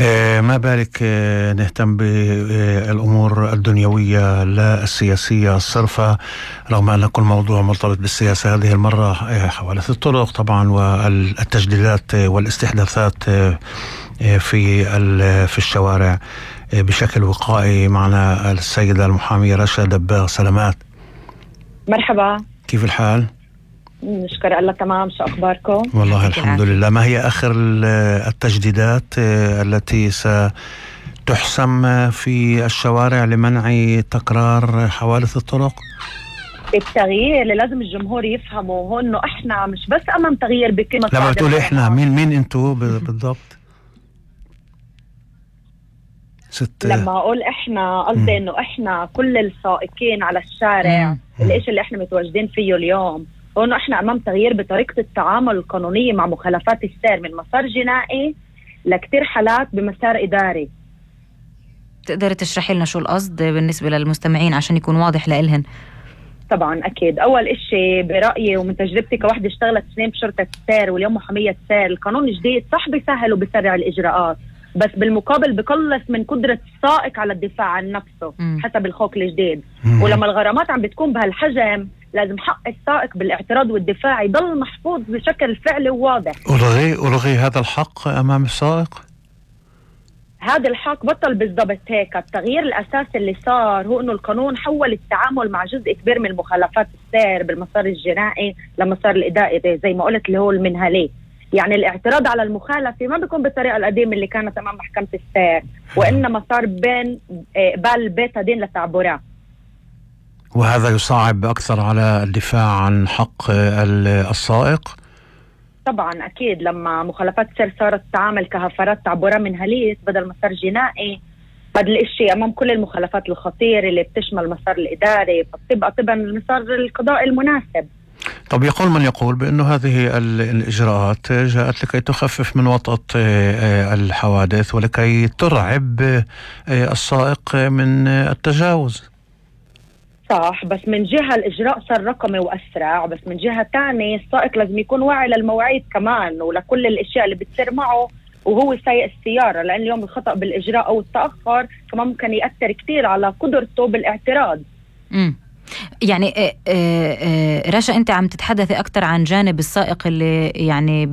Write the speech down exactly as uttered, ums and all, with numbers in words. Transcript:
آه، ما بالك آه، نهتم بالأمور الدنيوية لا السياسية الصرفة، رغم أن كل موضوع مرتبط بالسياسة. هذه المرة آه، حوادث الطرق طبعا والتجديدات والاستحداثات آه، في في الشوارع آه، بشكل وقائي. معنا السيدة المحامية رشا دباغ. سلامات. مرحبا، كيف الحال؟ نشكر الله تمام. شو أخباركم؟ والله الحمد لله. ما هي آخر التجديدات التي ستحسم في الشوارع لمنع تكرار حوادث الطرق؟ التغيير اللي لازم الجمهور يفهمه هو إنه إحنا مش بس أمام تغيير بكلمة. لما بتقول إحنا مين مين أنتوا بالضبط؟ ست... لما أقول إحنا قصدي إنه إحنا كل السائقين على الشارع، الإشي اللي إحنا متواجدين فيه اليوم هو إنه إحنا أمام تغيير بطريقة التعامل القانونية مع مخالفات السير من مسار جنائي لكتير حالات بمسار إداري. تقدر تشرحي لنا شو القصد بالنسبة للمستمعين عشان يكون واضح لإلهن؟ طبعا أكيد. أول إشي برأيي ومن تجربتي كواحدة اشتغلت سنين بشرطة السير واليوم محامية سير، القانون الجديد صح بيسهل وبيسرع الإجراءات، بس بالمقابل بقلص من قدرة السائق على الدفاع عن نفسه م. حسب الخوك الجديد. م. ولما الغرامات عم بتكون بهالحجم لازم حق السائق بالاعتراض والدفاع يضل محفوظ بشكل فعلي وواضح. ألغي ألغي هذا الحق أمام السائق؟ هذا الحق بطل بالضبط هيك. التغيير الأساسي اللي صار هو إنه القانون حول التعامل مع جزء كبير من مخالفات السير بالمسار الجنائي لمسار الإداري زي ما قلت اللي هو المنهلي. يعني الاعتراض على المخالفة ما بيكون بالطريقة القديمة اللي كانت أمام محكمة السير، وإنما صار بين بال بيتادين لتعبرات، وهذا يصعب أكثر على الدفاع عن حق السائق. طبعا أكيد. لما مخالفات السير صارت تعامل كهفرات تعبرة منهلية بدل مسار جنائي، هذا الاشي أمام كل المخالفات الخطيرة اللي بتشمل المسار الإداري، فبتبقى طبعا المسار القضائي المناسب. طب يقول من يقول بأنه هذه الإجراءات جاءت لكي تخفف من وطأة الحوادث ولكي ترعب السائق من التجاوز. صح، بس من جهة الإجراء صار رقمي وأسرع، بس من جهة تانية السائق لازم يكون واعي للمواعيد كمان ولكل الأشياء اللي بتصير معه وهو سايق السيارة، لأن اليوم الخطأ بالإجراء أو التأخر كمان ممكن يأثر كتير على قدرته بالاعتراض. امم يعني رشا، أنت عم تتحدثي أكتر عن جانب السائق اللي يعني